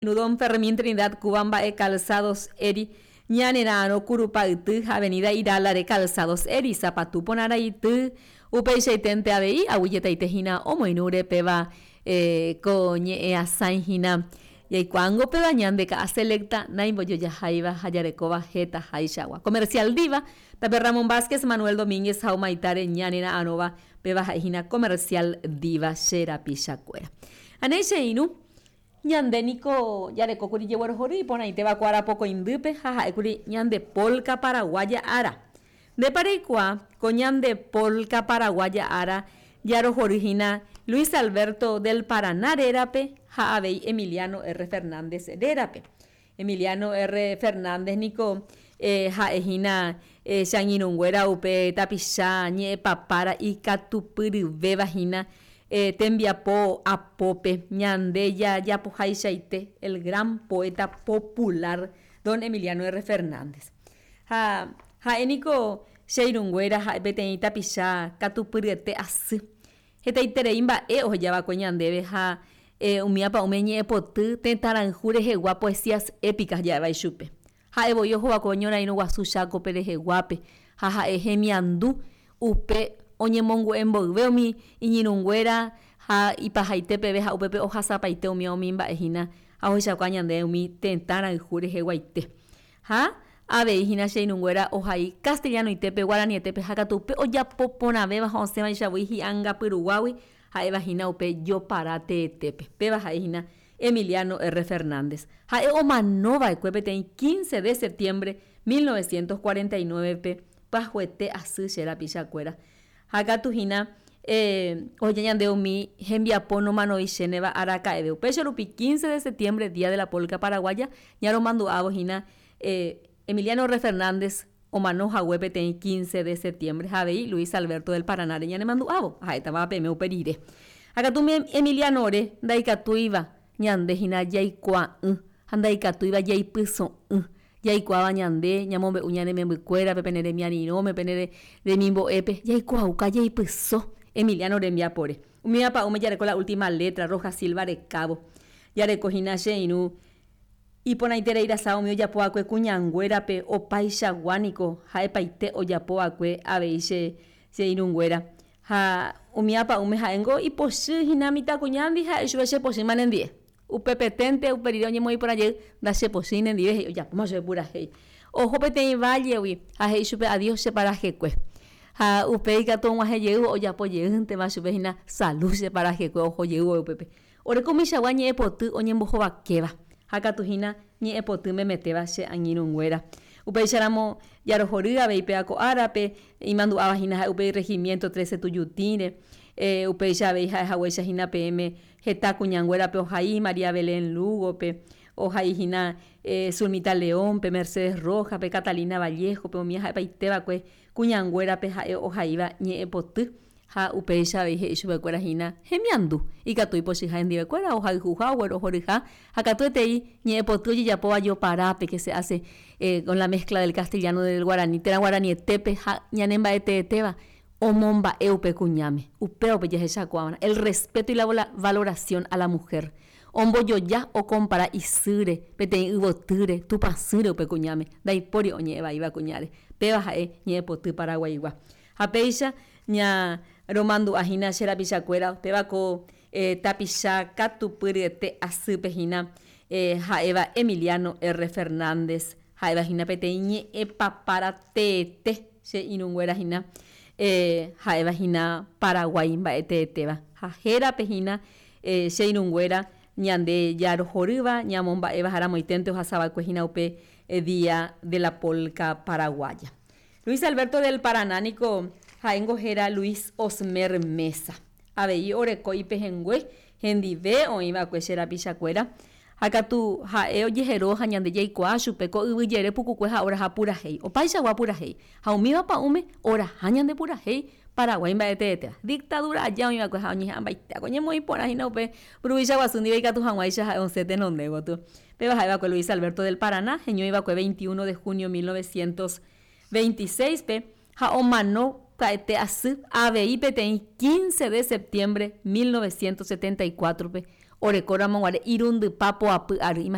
Don Fermín Trinidad Cuba mba'e Calzados Eri ñanera'arõ Kurupa'yty ha Avenida Irálare Calzados Eri sapatu porã raity upeichaiténte avei aguyjetaite hína omoirũre péva ko ñe'ẽasãi hína jaikuaángo péva ñande ka'a selecta naimbojojaháiva ha jarekóva hetahaichagua. Comercial Diva, tape Ramón Vázquez, Manuel Domínguez ha Humaitáre ñanera'arõva péva ha'e hína Comercial Diva che rapichakuéra. Anéi che irũ. Ñande niko jarekókuri jeguerohory iporãitéva ko ára pokõindýpe ha ha'ékuri ñande polka paraguaya ára. Ndépa reikuaa ko ñande polka paraguaya ára jarohory hína Luis Alberto del Paraná rérape ha avei Emiliano R. Fernández rérape. Emiliano R. Fernández niko ha'e hína che angirũnguéra upe tapicha ñe'ẽpapára ikatupyryvéva hína tembiapo apópe ñande jajapohaichaite el gran poeta popular don Emiliano R. Fernández. Ha ha'e niko che irũnguéra ha'e peteĩ tapicha katupyryete asy. Hetaiterei mba'e ohejava'ekue ñandéve ha umi apa'ũme ñe'ẽpoty tetãrayhu rehegua poesías épicas ja'éva ichupe. Ha'e voi ohova'ekue oñorairõ guasu Chácope reheguápe ha ha'e hemiandu upe oñemongu'e mboyve umi iñirũnguéra ha ipahaite peve ha upépe ohasapaite umi umi mba'e hína ha ohechakuaa ñandéve umi tetã rayhu reheguaite. Ha avei hína che irũnguéra ohai castellanoitépe, guaranietépe ha katu upe ojapo porãvéva ha osẽvaicha voi hi'angapyruguágui ha'éva hína upe jopara teetépe. Péva ha'e hína Emiliano R. Fernández. Ha'e omano va'ekue peteĩ 15 de septiembre 1949-pe pyahuete asy che rapichakuéra. Ha katu hína oheja ñande umi hembiapo nomanoichéneva araka'eve. Upéicha rupi 15 de septiembre, Día de la Polca Paraguaya, ñaromandu'ávo hína Emiliano R. Fernández omano hague peteĩ 15 de septiembre ha avei Luis Alberto del Paranáre ñanemandu'ávo, ha'étava peme upe rire. Ha katu umi Emilianore ndaikatúiva ñande hína jaikuaa'ỹ ha ndaikatúiva jaipyso'ỹ Jaikuaáva ñande, ñamombe'u ñane membykuérape, pene remiarirõme, pene remimbo'épe, jaikuaauka jaipyso Emiliano rembiapore. Umíva pa'ũme jareko la última letra, Rojas Silva rekávo. Jareko hína che irũ iporãiterei rasa umi ojapo va'ekue kuñanguérape opaichagua niko ha'epaite ojapo va'ekue avei che che irũnguéra. Ha umíva pa'ũme ha'éngo ipochy hína mitãkuñándi ha'e chupe che pochýma nendive. Upepeténte upe rire oñemoĩ porã jey, Ndachepochýi nendive, he'i ojapóma chupe purahéi. Oho peteĩ vállegui ha he'i chupe adiós che parajekue. Ha upéi katu og̃uahẽ jeývo ojapo jeýntema chupe hína salu che parajekue oho jey vove upépe. Oreko umichagua ñe'ẽpoty oñembohovakéva, ha katu hína ñe'ẽpoty memetéva che angirũnguéra. Upéicharamo jarohory avei péva ko árape, imandu'áva hína ha'e upe Regimiento Trece Tujutĩre, upéicha avei ha'e haguéicha hína peẽme Heta kuñanguérape ohai María Belén Lugo-pe, ohai hína Zulmita León-pe, Mercedes Rojas-pe, Catalina Vallejo-pe, umi ha'epaite va'ekue kuñanguérape ha'e ohaíva ñe'ẽpoty ha upéicha avei he'i chupekuéra hína hemiandu, ikatu ipochyha hendivekuéra, ohayhuha, oguerohoryha ha katuetei ñe'ẽpoty ojejapóva joparápe que se hace con la mezcla del castellano del guaraní térã guaranietépe ha ñanemba'eteetéva Omomba'e upe kuñáme, upéva upe jahechakuaava'erã, el respeto y la valoración a la mujer. Ombojoja, okompara isýre, peteĩ yvotýre, tupãsýre upe kuñáme, ndaipóri oñe'ẽ vaíva kuñáre. Péva ha'e ñe'ẽpoty paraguaigua. Ha péicha ña romandu'a hína che rapichakuéra, upéva ko tapicha katupyryete asýpe hína ha'éva Emiliano R. Fernández, ha'éva hína peteĩ ñe'ẽpapára teete. Che irũnguéra hína ha'éva hína Paraguái mba'e teetéva. Ha hérape hína che irũnguéra ñande jarohorýva, ñamomba'éva ha ramoiténte ohasava'ekue hína upe Día de la Polca Paraguaya. Luis Alberto del Paraná niko ha'éngo héra Luis Osmer Meza. Avei oreko ipehẽngue hendive oĩva'ekue che rapichakuéra, ha katu ha'e ojehero ha ñande jaikuaa chupe ko yvy jere pukukue ha oraha purahéi, opaichagua purahéi, ha umíva pa'ũme oraha ñande purahéi Paraguái mba'eteetéva. Dictadura aja oĩva'ekue ha oñeha'ãmbaitéva ko ñemoĩ porã hína upe mburuvicha guasu ndive ikatu hag̃uáicha ha'e osẽ tenonde gotyo. Péva ha'eva'ekue Luis Alberto del Paraná, heñoiva'ekue 21 de junio 1926-pe ha omano pya'ete asy avei peteĩ 15 de septiembre 1974-pe. Orekóramo guare irundypa poapy ary.